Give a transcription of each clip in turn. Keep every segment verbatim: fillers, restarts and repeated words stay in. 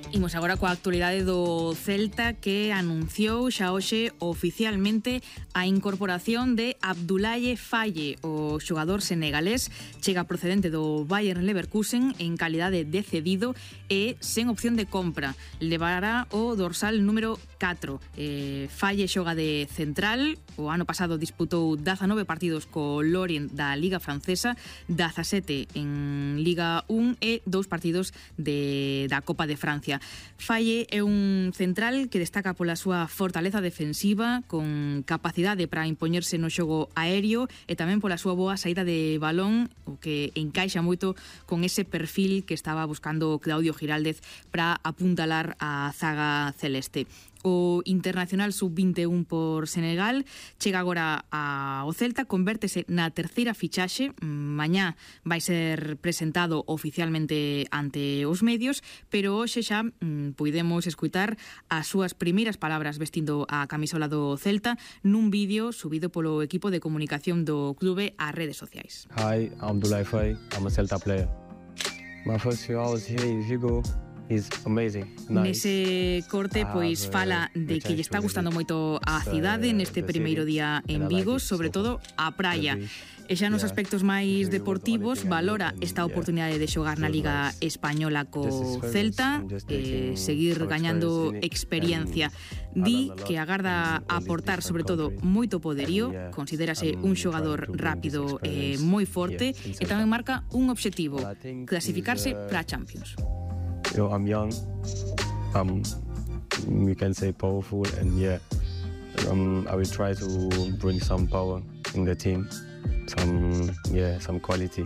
Imos agora coa actualidade do Celta, que anunciou xa hoxe oficialmente a incorporación de Abdoulaye Faye. O xogador senegalés chega procedente do Bayer Leverkusen en calidade de cedido e sen opción de compra. Levará o dorsal número catro. Eh, Faye xoga de central. O ano pasado disputou dezanove partidos co Lorient da Liga Francesa, dezasete en Liga un e dous partidos de, da Copa de Francia. Faye é un central que destaca pola súa fortaleza defensiva, con capacidade para impoñerse no xogo aéreo e tamén pola súa boa saída de balón, o que encaixa moito con ese perfil que estaba buscando Claudio Giraldez para apuntalar a zaga celeste. O internacional sub vinte e un por Senegal chega agora ao Celta, convértese na terceira fichaxe. Mañá vai ser presentado oficialmente ante os medios, pero hoxe xa mm, puidemos escutar as súas primeiras palabras vestindo a camisola do Celta nun vídeo subido polo equipo de comunicación do clube ás redes sociais. Hi, I'm Abdoulaye Faye. I'm a Celta player. My first few hours here in Vigo is amazing. Nice. Nese corte, pois, fala de que lle está gustando moito a cidade neste primeiro día en Vigo, sobre todo a praia. E xa nos aspectos máis deportivos valora esta oportunidade de xogar na Liga Española co Celta e seguir gañando experiencia. Di que agarda aportar sobre todo moito poderío, considérase un xogador rápido e moi forte e tamén marca un obxectivo, clasificarse para a Champions. You know, I'm young, um, we can say powerful, and yeah, um, I will try to bring some power in the team, some, yeah, some quality.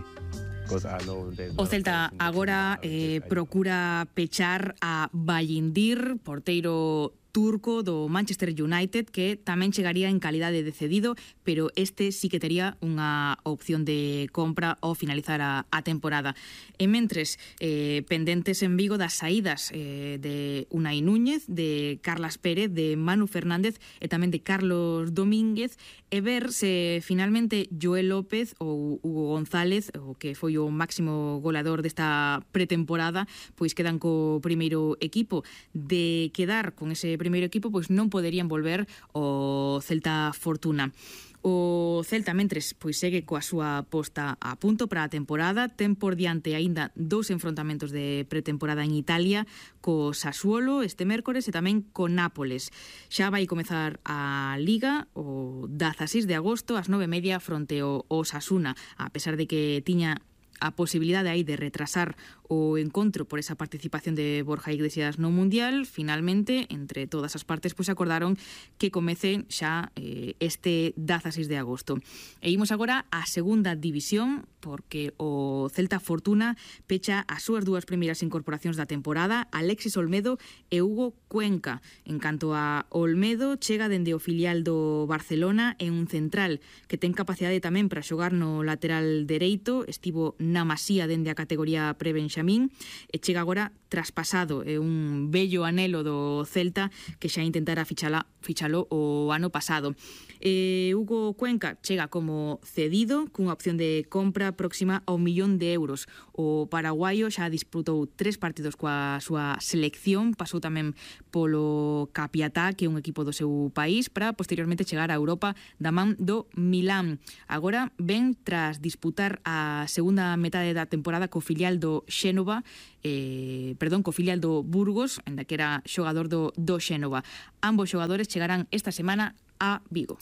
O Celta agora eh, procura pechar a Bayindir, porteiro turco do Manchester United, que tamén chegaría en calidade de cedido, pero este sí que tería unha opción de compra ao finalizar a, a temporada. E mentres, eh, pendentes en Vigo das saídas eh, de Unai Núñez, de Carlas Pérez, de Manu Fernández e tamén de Carlos Domínguez, e ver se finalmente Joel López ou Hugo González, o que foi o máximo goleador desta pretemporada, pois quedan co primeiro equipo. De quedar con ese primeiro equipo, pois non poderían volver ao Celta Fortuna. O Celta, mentres, pois segue coa súa posta a punto para a temporada. Ten por diante aínda dous enfrontamentos de pretemporada en Italia, co Sassuolo este mércores e tamén co Nápoles. Xa vai comezar a Liga o dezaseis de agosto ás nove e media fronte ao Osasuna, a pesar de que tiña a posibilidade aí de retrasar o encontro por esa participación de Borja Iglesias no Mundial. Finalmente, entre todas as partes, pois acordaron que comece xa eh, este dezaseis de agosto. E imos agora á segunda división, porque o Celta Fortuna pecha as súas dúas primeiras incorporacións da temporada, Alexis Olmedo e Hugo Cuenca. En canto a Olmedo, chega dende o filial do Barcelona e un central que ten capacidade tamén para xogar no lateral dereito, estivo na Masía dende a categoría pre-Benxamín e chega agora traspasado, é un bello anelo do Celta que xa intentara fichala, fichalo o ano pasado. Eh, Hugo Cuenca chega como cedido cunha opción de compra próxima a un millón de euros. O paraguaio xa disputou tres partidos coa súa selección, pasou tamén polo Capiatá, que é un equipo do seu país, para posteriormente chegar a Europa da man do Milán. Agora ven tras disputar a segunda metade da temporada co filial do Xénova, eh, perdón, co filial do Burgos, ainda que era xogador do, do Xénova. Ambos xogadores chegarán esta semana a Vigo.